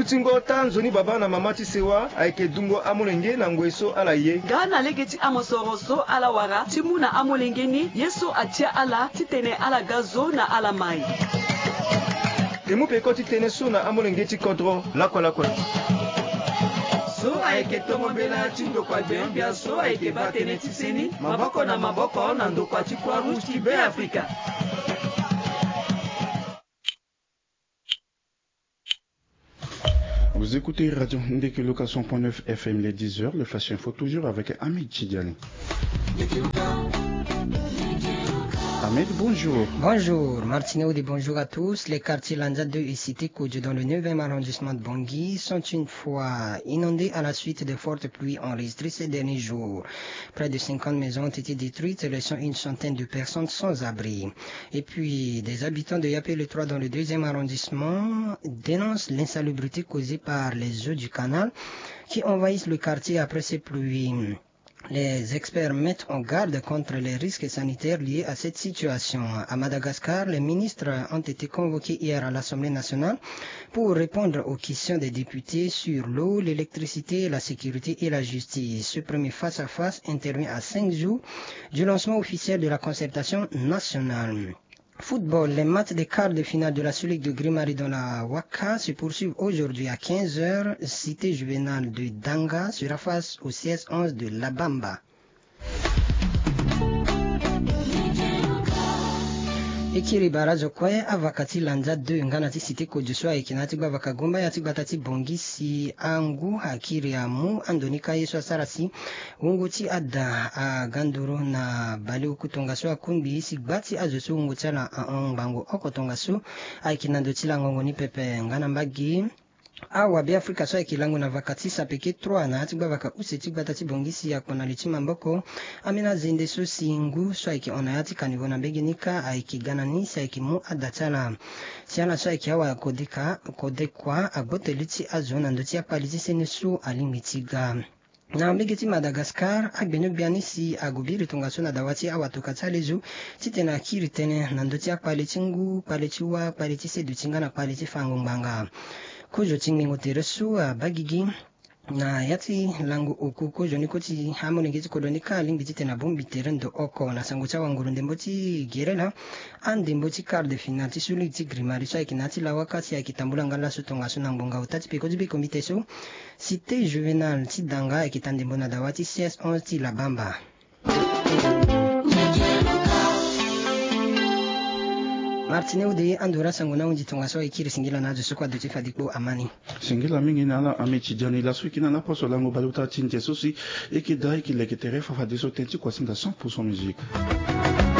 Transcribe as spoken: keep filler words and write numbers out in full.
Ti ngo taa nzoni baba na mama ti sewa ayeke dungo amolenge na ngoi so ala ye. Nga na lege ti amosoro so ala wara ti mu na amolenge ni ye so atia ala titene ala ga zo na ala mai. E mu peko ti tënë so na amolenge ti kodro lakue lakue. So ayeke tongo mbela ti ndokua gbeogbia so ayeke baa tënë ti seni maboko na maboko na ndokua ti Croix Rouge ti Beafrika. Vous écoutez Radio Ndekeloka cent point neuf F M, les dix heures, le Flash Info, toujours avec Ahmed Chidjani. Ahmed, bonjour. Bonjour, Martine Audé, bonjour à tous. Les quartiers Lanza deux et Cité Kodjo dans le neuvième arrondissement de Bangui sont une fois inondés à la suite de fortes pluies enregistrées ces derniers jours. Près de cinquante maisons ont été détruites, laissant une centaine de personnes sans abri. Et puis, des habitants de Yapé le trois dans le deuxième arrondissement dénoncent l'insalubrité causée par les eaux du canal qui envahissent le quartier après ces pluies. Les experts mettent en garde contre les risques sanitaires liés à cette situation. À Madagascar, les ministres ont été convoqués hier à l'Assemblée nationale pour répondre aux questions des députés sur l'eau, l'électricité, la sécurité et la justice. Ce premier face-à-face intervient à cinq jours du lancement officiel de la concertation nationale. Football, les matchs des quarts de finale de la Sous-Ligue de Grimari dans la Waka se poursuivent aujourd'hui à quinze heures. Cité Juvénal de Danga sera face au C S onze de Labamba. E kiri bara zo kue avaka ti Lanza deux nga na ti Cité Kodjo so ayeke na ya ti gbavaka Gomba ya ti gbata ti Bangui si angu akiri amu ando ni ka ye so asara si wungo ti ada aga nduru na baleoku tongaso akungbi si gba ti azo so wungo ti ala ahon ngbangbo oko tongaso ayeke na ndo ti langongo ni pepe nga na mbage. Awa Beafrika so ayeke lango na vaka ti sapeke trois na ya ti gbavaka use ti gbata ti Bangui si akpo na li ti maboko. Ambeni azende so si ngu so ayeke hon na ya ti kanivo na mbege ni ka ayeke ga na ni si ayeke mu ada ti ala. Si ala so ayeke awa kodeka kodekua agbote li ti azo na ndö ti akpali ti seni so alingbi ti ga. Na mbege ti Madagascar, agbeni-gbia ni si ague biri tongaso na dawa ti awatoka ti alezo titene akiri tënë na ndö ti akpale ti ngu, kpale ti wâ, kpale ti seduti nga na kpale ti fango ngbanga. Kozo ti ngbingo tere so abaa gigi na ya ti lango oku, kozo ni kue ti amolenge ti kodro ni ka alingbi titene abongbi tere ndo oko na sango ti awanguru ndembo ti gere laa. Andembo ti quart de finale ti Sous-Ligue ti Grimari so ayeke na ya ti lawaka si ayeke tambula nga laso tongaso na ngbonga ota ti peko ti biko mbi te so. Cité Juvénal ti Danga ayeke ta ndembo na dawa ti C S onze ti Labamba. Martine Ode, ando ra sango na hundi tongaso ayeke iri singila na azo so kue aduti fade kpo amani. Singila mingi na ala Ahmed Tidiane, laso e yeke na ala poso lango baleota ti nze so si e yeke daa e yeke leke tere fafadeso tënë ti kuasinga cent pour cent musique.